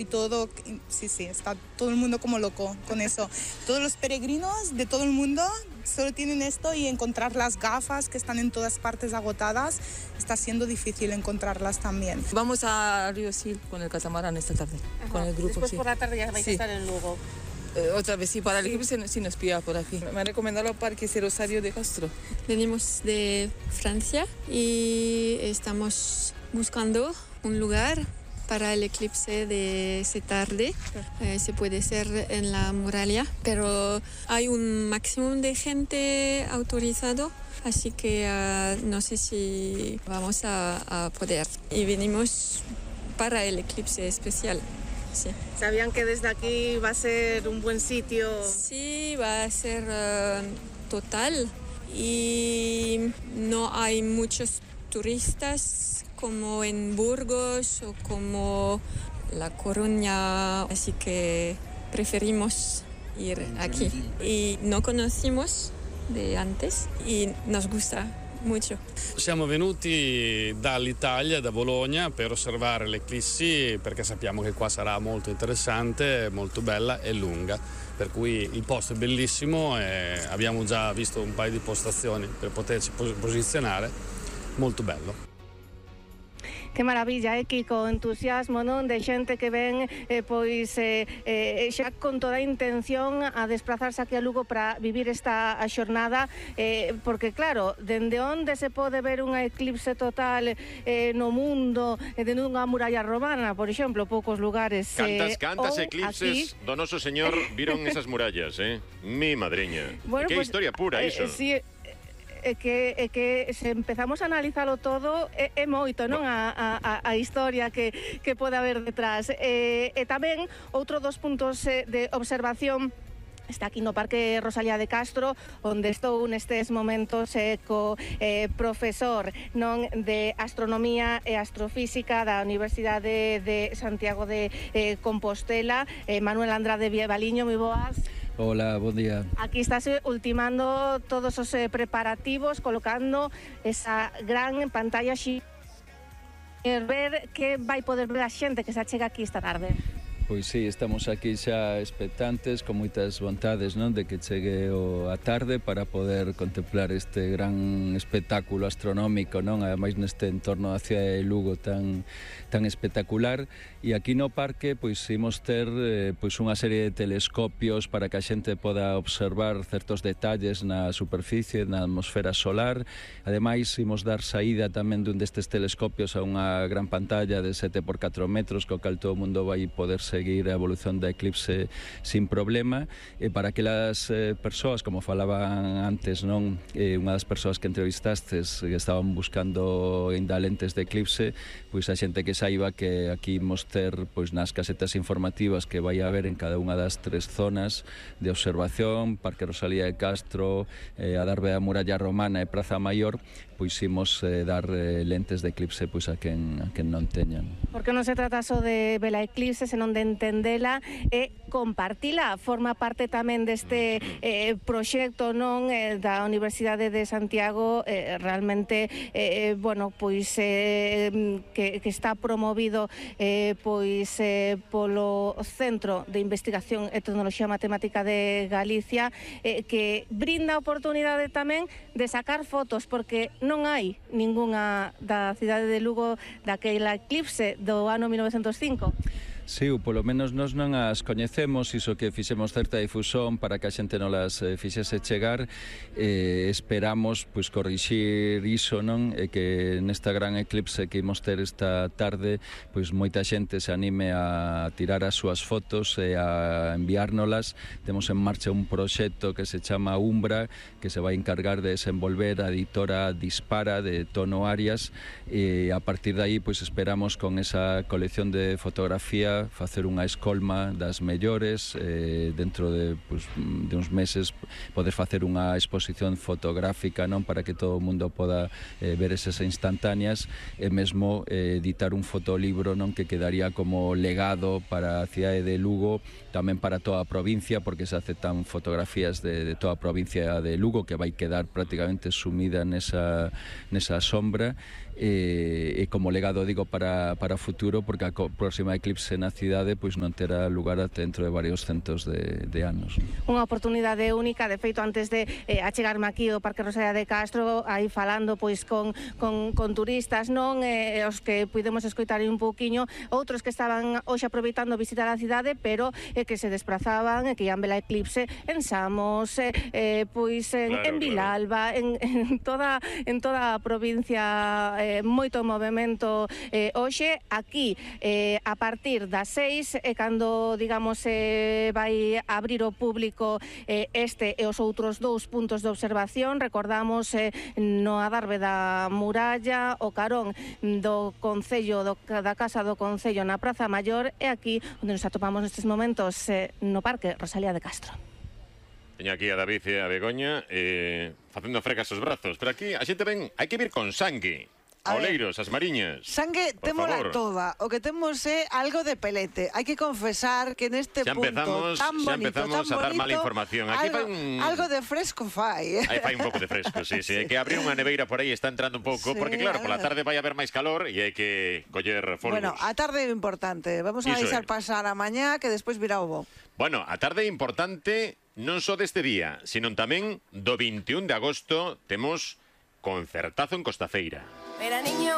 y todo, sí, está todo el mundo como loco con eso. Todos los peregrinos de todo el mundo solo tienen esto y encontrar las gafas que están en todas partes agotadas, está siendo difícil encontrarlas también. Vamos a Río Sil con el catamarán esta tarde, con el grupo. Después por la tarde ya vais a estar en Lugo. Otra vez, sí, para el equipo sí nos pilla por aquí. Me han recomendado el Parque Rosario de Castro. Venimos de Francia y estamos buscando un lugar para el eclipse de esta tarde. Se puede hacer en la muralla, pero hay un máximo de gente autorizado, así que no sé si vamos a poder. Y venimos para el eclipse especial. Sí. ¿Sabían que desde aquí va a ser un buen sitio? Sí, va a ser total y no hay muchos turistas como en Burgos o como La Coruña, así que preferimos ir aquí. Y no conocimos de antes y nos gusta molto. Siamo venuti dall'Italia, da Bologna, per osservare l'eclissi perché sappiamo che qua sarà molto interessante, molto bella e lunga, per cui il posto è bellissimo e abbiamo già visto un paio di postazioni per poterci posizionare, molto bello. Que maravilla, Kiko, entusiasmo, non? De xente que ven xa con toda a intención a desplazarse aquí a Lugo para vivir esta xornada, porque claro, dende onde se pode ver unha eclipse total no mundo, dende unha muralla romana, por exemplo, poucos lugares. Cantas eclipses aquí do noso señor viron esas murallas, mi madriña. Bueno, que pues, historia pura iso. Sí, que se empezamos a analizalo todo é moito, non? A historia que pode haber detrás. E tamén outro dos puntos de observación está aquí no Parque Rosalía de Castro, onde estou nestes momentos co profesor non de Astronomía e Astrofísica da Universidade de Santiago de Compostela, Manuel Andrade Vievaliño, moi boas. Hola, bon día. Aquí estás ultimando todos os preparativos, colocando esa gran pantalla ver que vai poder ver a xente que se achega aquí esta tarde. Pois sí, estamos aquí xa expectantes, con moitas vontades, non, de que chegue a tarde para poder contemplar este gran espectáculo astronómico, non, ademais neste entorno da cidade de Lugo tan espectacular. E aquí no parque pois imos ter pois unha serie de telescopios para que a xente poda observar certos detalles na superficie, na atmosfera solar. Ademais, imos dar saída tamén dun destes telescopios a unha gran pantalla de 7x4 metros, co cal todo o mundo vai poder seguir a evolución da eclipse sin problema. E para aquelas persoas, como falaban antes, non, unha das persoas que entrevistastes que estaban buscando ainda lentes de eclipse, pois a xente que saiba que aquí imos ter pois nas casetas informativas que vai haber en cada unha das 3 zonas de observación, Parque Rosalía de Castro, a Darbe da Muralla Romana e Praza Maior, pois imos dar lentes de eclipse pois a quen non teñan. Porque non se trata só de ver a eclipse, senón de entendela e compartila. Forma parte tamén deste proxecto, non, da Universidade de Santiago, realmente bueno, pois que está promovido pois polo Centro de Investigación e Tecnoloxía Matemática de Galicia, que brinda a oportunidade tamén de sacar fotos, porque non hai ningunha da cidade de Lugo daquela eclipse do ano 1905. Sí, polo menos nós non as coñecemos, iso que fixemos certa difusón para que a xente non las fixese chegar. Esperamos pois corrixir iso, non? E que nesta gran eclipse que imos ter esta tarde, pois moita xente se anime a tirar as súas fotos e a enviárnolas. Temos en marcha un proxecto que se chama Umbra, que se vai encargar de desenvolver a editora Dispara de Tono Arias, e a partir de aí pois esperamos con esa colección de fotografía facer unha escolma das mellores, dentro de uns meses poder facer unha exposición fotográfica, non, para que todo o mundo poda ver esas instantáneas, e mesmo editar un fotolibro, non, que quedaría como legado para a cidade de Lugo, tamén para toda a provincia, porque se aceptan fotografías de toda a provincia de Lugo, que vai quedar prácticamente sumida nesa sombra, e como legado, digo, para o futuro, porque a próxima eclipse na cidade pois non terá lugar ata dentro de varios centos de anos. Unha oportunidade única, de feito, antes de achegarme aquí ao Parque Rosalía de Castro, aí falando pois con turistas, non, os que pudemos escoitar un pouquiño, outros que estaban hoxe aproveitando visitar a cidade, pero que se desprazaban e que ian ver a eclipse en Samos, pois en Vilalba, en toda a provincia, moito movimento hoxe. Aquí, a partir das 6, cando, digamos, vai abrir o público este e os outros 2 puntos de observación, recordamos, no adarve da muralla, o carón do Concello, da Casa do Concello na Praza Maior, e aquí onde nos atopamos nestes momentos no Parque Rosalía de Castro. Teño aquí a David e a Begoña facendo frecas os brazos, pero aquí a xente ven, hai que vir con sangue. Oleiros, as mariñas. Sangue témola toda. O que temos é algo de pelete. Hai que confesar que neste punto tan bonito, empezamos a dar mala información. Aquí algo de fresco fai. Aí fai un pouco de fresco, sí. É que abrir unha neveira por aí está entrando un pouco, porque claro, pola tarde vai haber máis calor e hai que coller folgos. Bueno, a tarde é importante. Vamos a deixar pasar a mañá, que despois virá o bo. Bueno, a tarde é importante non só deste día, sino tamén do 21 de agosto temos concertazo en Costafeira. Mira, niño.